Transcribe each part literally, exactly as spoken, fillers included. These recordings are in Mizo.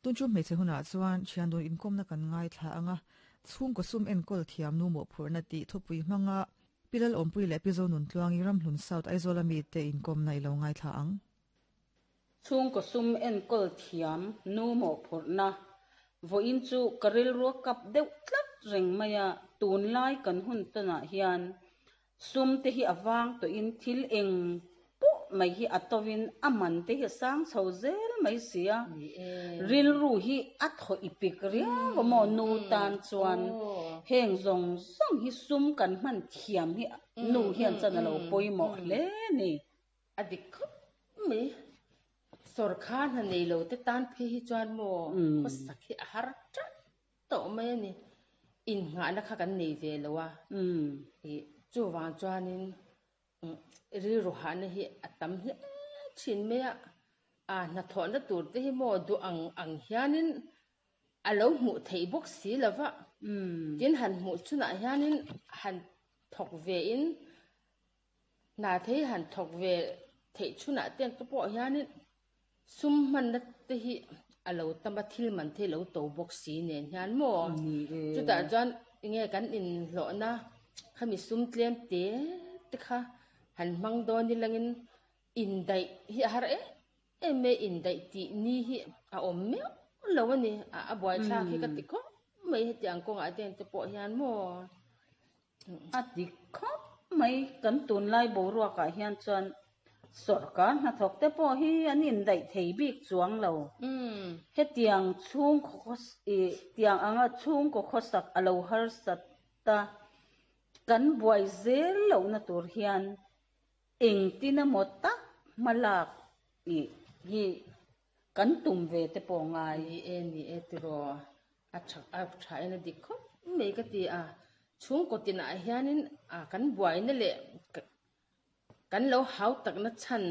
Tun chu hmeichhe hunah chuan thian dun inkawmna kan ngaithla anga chhungkaw sum enkawl thiam nu mawhphurhna tih thupui hmanga Pilal Awmpui leh Pi Zonuntluangi Ramhlun South Aizawl ami te inkawmna i lo ngaithla ang. Chhungkaw sum enkawl thiam nu mawhphurhna vawiin chu ka rilru a kap deuh tlat reng mai a, tunlai kan hun tawnah hian sum te hi a vang tawhin thil eng pawh mai hi a tovin a man te hi a sang chho zel mai si a, rilru hi a thaw ipik riau a maw nu tan chuan heng zawng zawng hi sum kan hman thiam hi nu hian chuan a lo pawimawh hle a ni. A dik khawp mai. Sawrkar hna nei lo te tan phei hi chuan maw khawsak hi a har teuh tawh mai a ni. Innghahna kha kan nei ve lo a, chuvang chuanin rilru hahna hi a tam hle thin mai a. A hnathawhna tur te hi maw duh ang ang hianin a lo hmuh theih bawk si lo va, tin han hmuh chhunah hianin han thawk ve in hna thei han thawk ve theih chhunah te ka pawh hianin sum hmanna te hi a lo tam a, thil man te hi lo to bawk si nen hian maw. Chutah chuan enge kan inhlawhna khami sum tlem te te kha han hmang dawn nilangin indaih hi a har em em mai, indaih tih ni hi a awm meuh lo a ni. A buaithlak hi ka ti khawp mai hetiang kawngah te te pawh hian maw. A dik khawp mai, kan tunlai boruakah hian chuan sawrkar hnathawk te pawh hi an indaih thei bik chuang lo. Hetiang chhungkaw tiang anga chhungkaw khawsak a lo harsat ta kan buai zel lohna tur hian engtin emaw tak hmalak hi kan tum ve te pawh ngai. Ni e, ni e tiraw a tha a tha in a dik khawp mai ka ti a. Chhungkaw tinah hianin a kan buaina leh kan lo hau takna chhan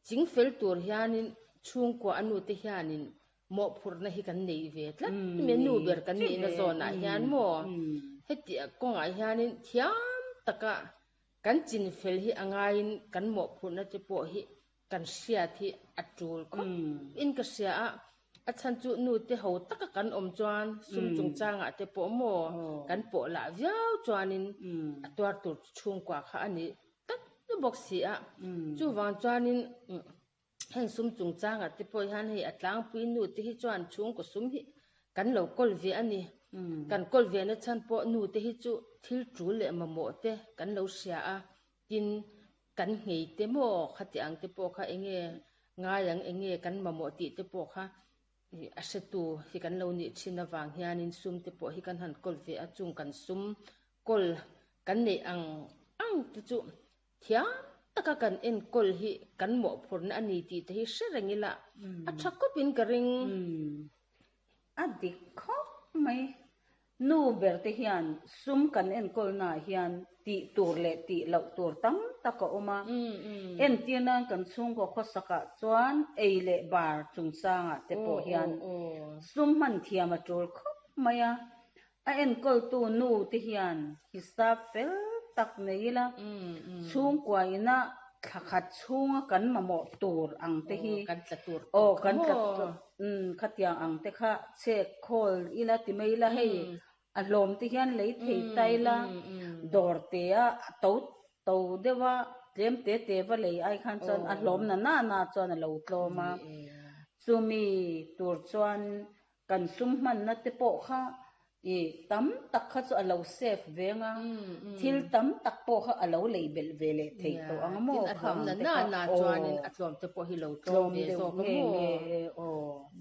chingfel tur hianin chhungkua a nu te hianin mawhphurhna hi kan nei ve tlat mai, nu ber kan nihna zawnah hian maw. Heti kawngah hianin thiam taka kan chinfel hi a ngaiin kan mawhphurhna te pawh hi kan hriat hi a tul khawp in ka hria a. A chhan chu nu te ho taka kan awm chuan sum chungchangah te pawh maw kan pawh lah viau chuanin a tuar tur chhungkua kha a ni tlat bawk si a. Chuvang chuanin heng sum chungchangah te pawh hian hei a tlangpui nu te hi chuan chhungkaw sum hi kan lo kawl ve a ni. Kan kawl ve na chhan pawh nu te hi chu thil tul leh mamawh te kan lo hria a, tin kan nghei te maw khati ang te pawh kha enge ngai ang enge kan mamawh tih te pawh kha a hretu hi kan lo nih thin avang hianin sum te pawh hi kan han kawl ve a. Chung kan sum kawl kan neih ang ang te chu thiam taka kan enkawl hi kan mawhphurhna a ni tih te hi hre reng ila a tha khawpin ka ring. A dik khawp mai. Nu ber te hian sum kan enkawlnaah hian tih tur leh tih loh tur tam tak a awm a. Entir nan kan chhungkaw khawsakah chuan ei leh bar chungchangah te pawh hian sum hman thiam a tul khawp mai a. A enkawltu nu te hian hisap fel tak nei ila chhungkua ina thla khat chhunga kan mamawh tur ang te hi kan tla tur aw kan tla khatiang ang te kha chek khawl ila ti mai ila hei a hlawm te hian lei thei ta ila dawr te a to to deuh a tlem te te va lei ai khan chuan a hlawm na na na chuan a lo tlawm a. Chumi tur chuan kan sum hmanna te pawh kha i tam tak kha chu a lo save veng a, thil tam tak pawh kha a lo lei belh ve leh thei tawh ang maw tin a hlawm na na na chuanin a tlawm te pawh hi lo tlawm ve zawk a maw.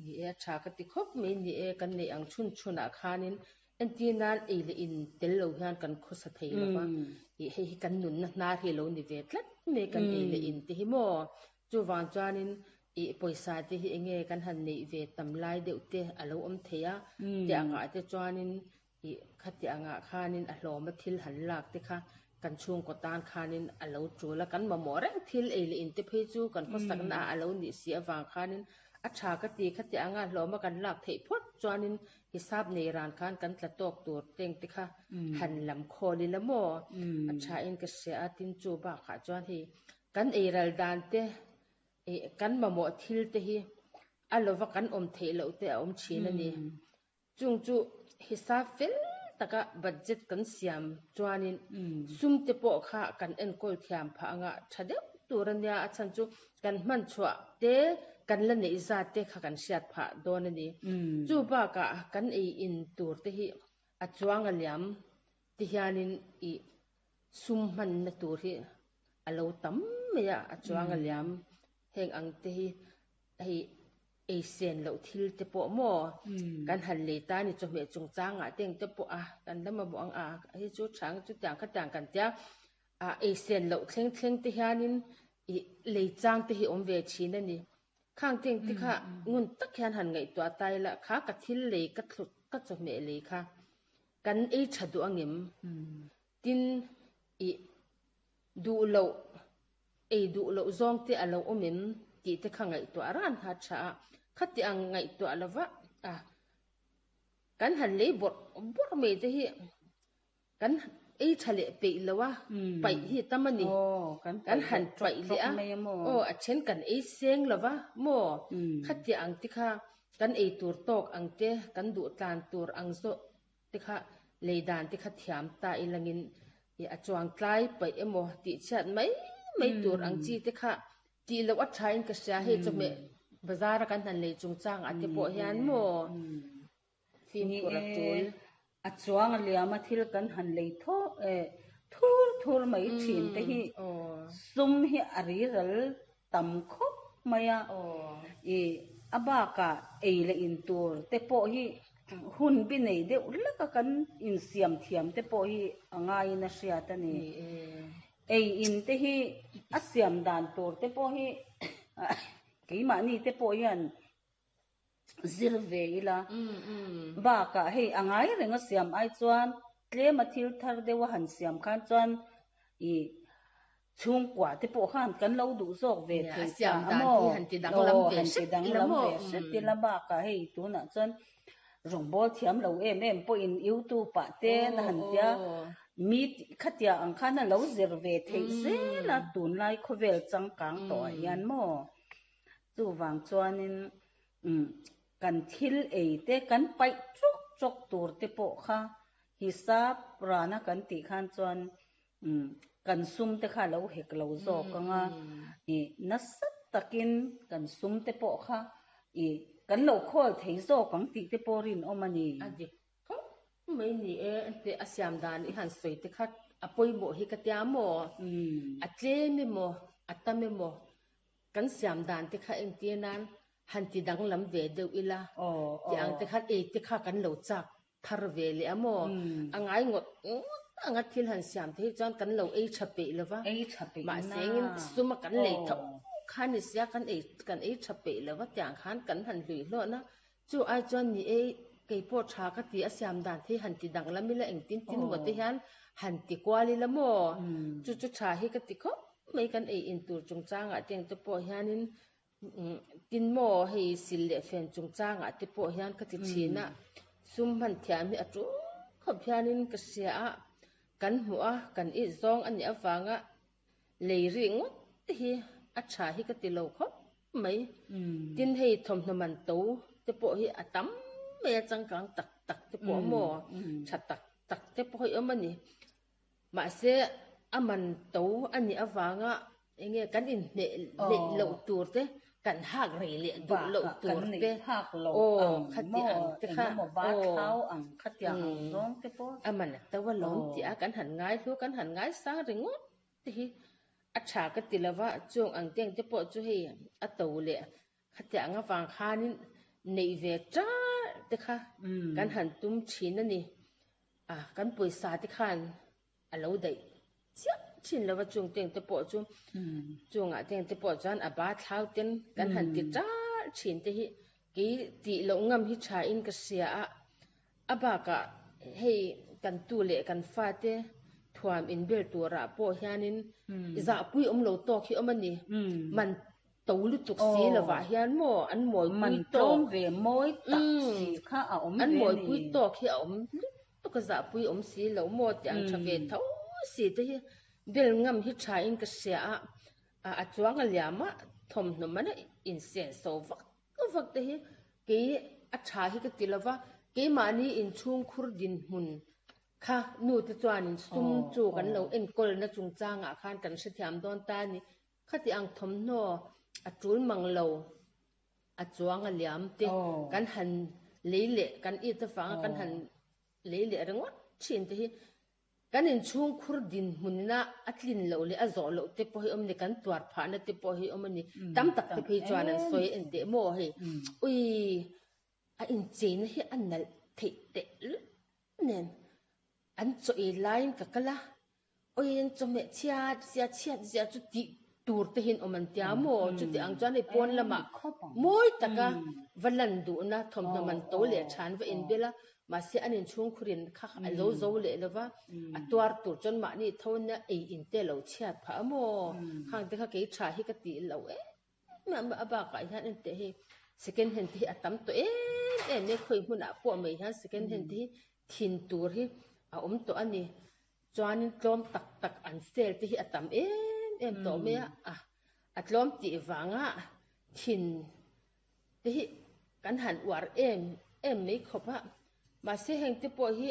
Ni e, a tha ka ti khawp mai. Ni e, kan neih ang chhun chhunah khanin entir nan ei leh in tel lo hian kan khawsa thei lo va, hei hi kan nunna hnar hi lo ni ve tlat mai kan ei leh in te hi maw. Chuvang chuanin i pawisa te hi enge kan han neih ve tam lai deuh te a lo awm thei a, te angah te chuanin i khati angah khanin a hlawm a thil han lak te kha kan chhungkaw tan khanin a lo tul a, kan mamawh reng thil ei leh in te phei chu kan khawsakna ah a lo nih si avang khanin a tha ka ti. Khati anga hlawm a kan lak theih phawt chuanin hisap nei ran khan kan tla tawk tur teng te kha han lam khawl ila maw a tha in ka hria a. Tin chu bakah chuan hei kan eiral dan te kan mamawh thil te hi A lova kan awm theih loh te a awm thin a ni. Chung chu hisap fel taka budget kan siam chuanin sum te pawh kha kan enkawl thiam phah anga tha deuh tur a nia, a chhan chu kan hman chhuah te kan la neih zat te kha kan hriat phah dawn a ni. Chu bakah kan ei in tur te hi a chuang a liam ti hianin i sum hmanna tur hi a lo tam mai a, a chuang a liam heng ang te hi hei ei sen loh thil te pawh maw kan han lei ta ni chawhmeh chungchangah te eng te pawh a kan la mamawh ang a hei chu tha ang chutiang khatiang kan tia a ei sen loh thleng thleng te hianin i lei chang te hi awm ve thin a ni. Khang te eng te kha ngun tak hian han ngaihtuah ta ila kha ka thil lei ka thlut ka chawhmeh lei kha kan ei tha duh angem tin i duh loh ei duh loh zawng te a lo awm em tih te kha ngaihtuah ran ha tha a khati ang ngaihtuah lova a kan han lei bawrh bawrh mai te hi kan ei tha leh peih lo a paih hi tam a ni kan han paih leh a aw a then kan ei seng lova maw khati ang te kha kan ei tur tawk ang te kan duh tlan tur ang zawh te kha lei dan te kha thiam ta ilangin a chuang tlai paih emaw tih chhiat mai mai tur ang chi te kha tih loh a tha in ka hria hei chawhmeh bazar a kan han lei chungchang ah te pawh hian maw fimkhur a tul a chuang a liam a thil kan han lei thaw eh thur thur mai thin te hi sum hi a ri ral tam khawp mai a i a bakah ei leh in tur te pawh hi hun bi nei deuh hlek a kan insiam thiam te pawh hi a ngaiin a hriat a ni. Ei in te hi a siam dan tur te pawh hi keimahni te pawh hian zir ve ila bakah hei a ngai reng a siam ai chuan tlem a thil thar deuh a han siam khan chuan i chhungkua te pawh khan kan lo duh zawk ve thei ta a maw aw han ti danglam ve hret ila bakah hei tunah chuan rawngbawl thiam lo em em pawhin youtube ah te na han tia mi khatia ang khan a lo zir ve theih zel a tunlai khawvel changkang tawh ah hian maw chuvang chuanin um kan thil ei te kan paih chawk chawk tur te pawh kha hisap rana kan tih khan chuan um kan sum te kha lo hek lo zawk anga i nasa takin kan sum te pawh kha i kan lo khawl thei zawk ang tih te pawh rin awm a ni. A dik khawp mai ni e te a siam dan i han sawi te kha a pawimawh hi ka tia maw a tlem emaw a tam emaw kan siam dan te kha engtir nan han ti danglam ve deuh ila ti ang te khan ei te kha kan lo chak thar ve leh a maw a ngai ngawt ngawt anga thil han siam te hi chuan kan lo ei tha peih lova ei tha peih mahse engin suma kan lei tho khan ni sia kan ei kan ei tha peih lova tiang khan kan han hlui hlawh na chu ai chuan ni ei kei pawh tha ka ti a siam dan the han ti danglam ila engtin tin maw te hian han ti kual ila maw chu chu tha hi ka ti khawp mai kan ei in tur chungchangah te te pawh hianin tin maw hei sil leh fen chungchangah te pawh hian ka ti thin a sum hman thiam hi a tu khawp hianin ka hria a kan hmu a kan i zawng ani awanga lei ri ngawt te hi a tha hi ka ti lo khawp mai tin hei thawmhnaw man to te pawh hi a tam mai a changkang tak tak te pawh maw tha tak tak te pawh hi awm ani mahse a man to ani awanga enge kan in hne leh loh tur te kan hak rei leh duh loh tur te hak lo aw ang khati ang te kha engemaw ba aw thlau ang khatiang ang zawng te pawh a man a to a lawm ti a kan han ngai hlu kan han ngai sang ringawt te hi a tha ka ti lova chung ang teng te pawh chu hei a to leh khatiang awang khanin nei ve tar te kha kan han tum thin ani a kan pawisa te khan a lo daih chiah thin lova chung teng te pawh chu chungah teng te pawh chuan a ba thlau ten kan han ti tar thin te hi ki ti lo ngam hi tha in ka hria a a bakah hei kan tu leh kan fa te thuam in bel turah pawh hianin za pui awm lo tawk hi awm ani man to lutuk si lovah hian maw an mawi man pui tlawm tawk ve mawi tak si kha a awm an ve mawi ni pui tawk hi a awm lutuk a za pui awm si lo maw ti ang tha ve tho si te hi bel ngam hi tha in ka hria a a chuang a liama thawmhnaw mana in sen so vak vak te hi kei a tha hi ka ti lova keimahni inchhungkhur dinhmun kha nu te chuanin sum chu kan lo enkawl na chungchangah khan kan hrethiam dawn ta a ni. Khati ang thawmhnaw a tul mang lo a chuang a liam te kan han lei leh kan it avanga kan han lei leh ringawt thin te hi kan inchhungkhur dinhmunna a tlin loh leh a zawh loh te pawh hi awm a ni, kan tuar phahna te pawh hi awm a ni. Tam tak te phei chuan an sawi en teh maw hei ui a incheina hi a nalh theih teh lul nen an chaw ei laiin ka kal a, ui an chawhmeh chhiat zia chhiat zia chu tih tur te hian awm an tia maw? Chuti ang chuan hei pawn lamah mawi taka va lan duhna thawmhnaw man to leh than va inbel a, mahse an inchhungkhurin kha a lo zo leh lo va, a tuar tur chuan mahni tho nia ei in te lo chhiat phah a maw? Khang te kha kei tha hi ka tih loh em em a, a bakah hian enteh hei second hand te hi a tam tawh em em e, khawi hmunah pawh mai hian second hand te hi thin tur hi a awm tawh a ni. Chuanin tlawm tak tak an sale te hi a tam em em tawh mai a, a a tlawm tih vanga thin te hi kan han uar em em mai khawp a, mahse heng te pawh hi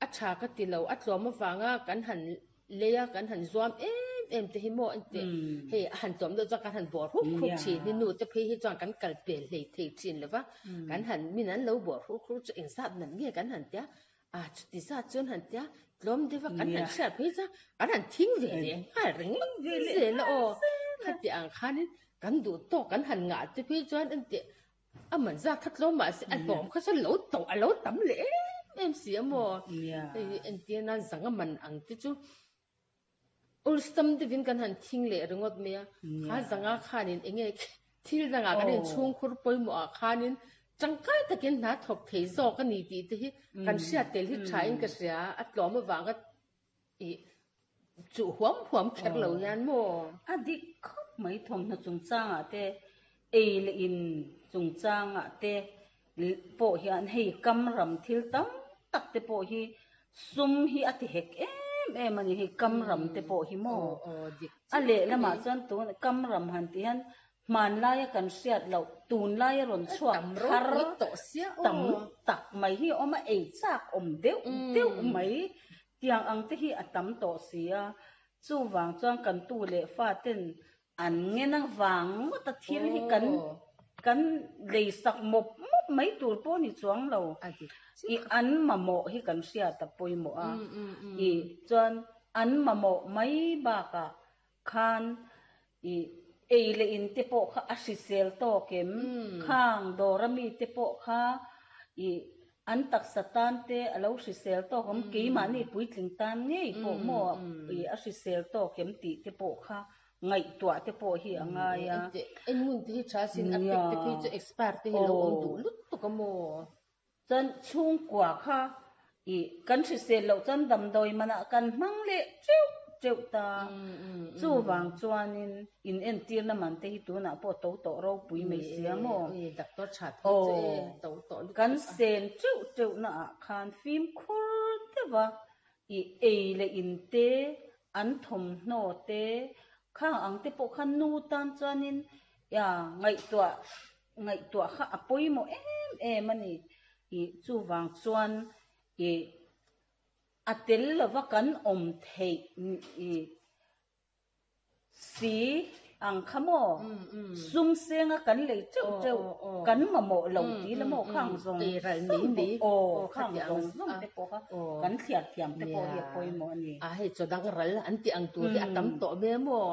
a tha ka ti lo, a tlawm avanga kan han lei a, kan han zuam em em te hi maw engteh hei a han tlawm deuh chuan kan han bawr huk huk thin hi nu te phei hi chuan kan kal pel hlei thei thin lo va, kan han min an lo bawr huk huk chu engzat nan nge kan han tia a chuti zat chuan han tia tlawm deuh a kan han hriat phei chuan kan han thing ve leh nghal ringawt zel a aw khati ang khanin kan duh tawk kan han ngah te phei chuan engteh a man zat kha tlawm mahse a hlawm kha chuan lo to a lo tam leh em em si a maw hei entir nan zanga man ang te chu ulsam deuhin kan han thing leh ringawt mai a kha zanga khanin enge thil dangah kan inchhungkhur pawimawh ah khanin tangkai takin hna thawk thei zawk a ni tih te hi kan hriat tel hi tha in ka hria a tlawm avanga ih chuh huam huam kher lo hian maw. A dik khawp mai thawmhnaw chungchangah te ei leh in chungchangah te pawh hian hei kam ram thil tam tak te pawh hi sum hi a ti hek em em a ni hei kam ram te pawh hi maw a lehlamah chuan tun kam ram han tih hian hmanlaia kan hriat loh tunlaia rawn chhuak thar tam tak mai hi a awm a, ei chak awm deuh deuh mai tiang ang te hi a tam tawh si a, chuvang chuan kan tu leh fa ten an ngen avang ngawt a thil hi kan kan lei sak mawp mawp mai tur pawh ni chuang lo i an mamawh hi kan hriat a pawimawh a, i chuan an mamawh mai bakah khan i ei leh in te pawh kha a hrisel tawk em, khang dawr ami te pawh kha i an taksa tan te a lo hrisel tawk awm, keimahni puitling tan ngei pawh maw i a hrisel tawk em tih te pawh kha ngaihtuah te pawh hi a ngai a. En ngun te hi tha sin a pek te phei chu expire te hi lo awm duh lutuk a maw. Chuan chhungkua kha i kan hrisel loh chuan damdawi manah kan hmang leh teuh teuh ta. Chuvang chuanin in entirna man te hi tunah pawh to tawh ropui mai sia maw. Doctor tha phei chu e to tawh lutuk a. Kan sen teuh teuh naah khan fimkhur deuh a i ei leh in te an thawmhnaw te khang ang te pawh khan nu tan chuanin ya ngaihtuah ngaihtuah kha a pawimawh em em a ni. I chuvang chuan i a tel lova kan awm theih i si ang kha maw sum senga kan lei teuh teuh kan mamawh lo tih la maw khang zawng zawng aw khang zawng zawng te pawh kha kan thliar thiam te pawh hi a pawimawh a ni. A hei chaw dang ral an tih ang tur hi a tam tawh mai a maw.